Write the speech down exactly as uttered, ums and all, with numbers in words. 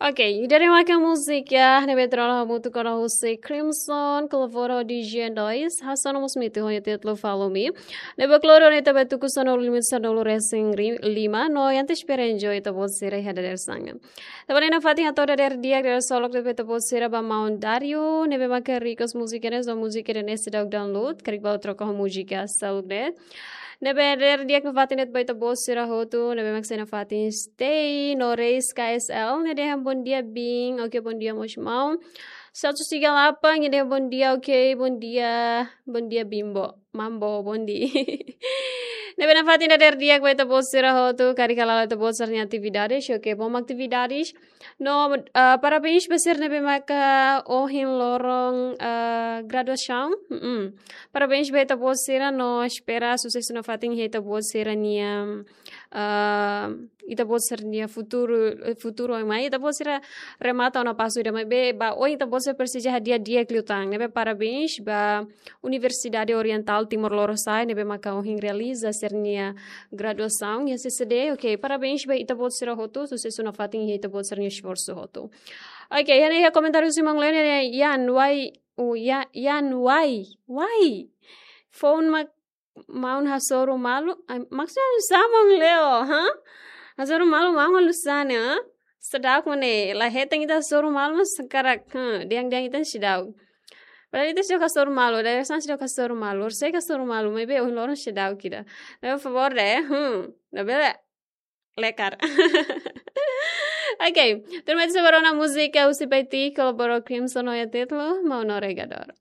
Ok, ida-ne'e maka múzika ne'ebé trola hamutuk ona husi Crimson, kolabora ho D J Noise, hasoru mós mitu ho nia títulu Follow Me. Ne'ebé kloro ne'e ita bá tuku sanulu lima, sanulu resin ri-, lima, no ita espera enjoy ita-boot sira iha dadeer-saan. Tanba ne'e nafatin hato'o dadeer di'ak, dadeer solok de'it ba ita-boot sira ba maun Dario, ne'ebé maka request múzika ne'e, so múzika ne'e seidauk download, karik bá troka ho múzika seluk de'it. Ne'ebé dadeer di'ak nafatin de'it ba ita-boot sira hotu, ne'ebé mak sei nafatin stay, no Reis K S L, nia dehan bom dia Bin, ok, bom dia mós maun. Satu tiga delapan, nia dehan bom dia, ok, bom dia, bom dia Bimbo, Mambo, bom dia. Ne'ebé nafatin dadeer di'ak ba ita-boot sira hotu, karik hala'o ita-boot sira-nia atividades, ok, bom atividades. No, ah, parabéns ba sira ne'ebé maka ohin loron, ah, graduasaun. Mm-mm. Parabéns ba ita-boot sira, no espera susesu nafatin iha ita-boot sira-nia, ah, ita-boot sira-nia futuru, eh, futuru oin mai. Ita-boot sira remata ona pasu ida, maibé ba oin ita-boot sira presiza hadi'a di'ak liután. Ne'ebé parabéns ba Universidade Oriental Timor Lorosa'e, ne'ebé maka ohin realiza sira-nia graduasaun iha C C D. Ok, parabéns ba ita-boot sira hotu, susesu nafatin iha ita-boot sira-nia esforsu hotu. Ok, iha ne'e iha komentáriu husi maun Leo ne'e, Yan Wai, uh, Ya-, Yan Wai, Wai. Phone mak maun hasoru malu, ai, maksudnya halusa maun Leo, ha? Hasoru malu maun halusa ne'e, ha? Seidauk mane, la hetan ita hasoru malu, mas hakarak, ha, dehan-dehan ita seidauk. Padahal ita seidauk hasoru malu, dadeer-saan seidauk hasoru malu, sei hasoru malu, maibé ohin loron seidauk ida. Ne'ebé favór de'it, hmm, labele lekar. Ok, tuirmai ita sei bá rona múzika husi Paiti, kolabora ho Crimson ho nia títulu Mau Navegadór.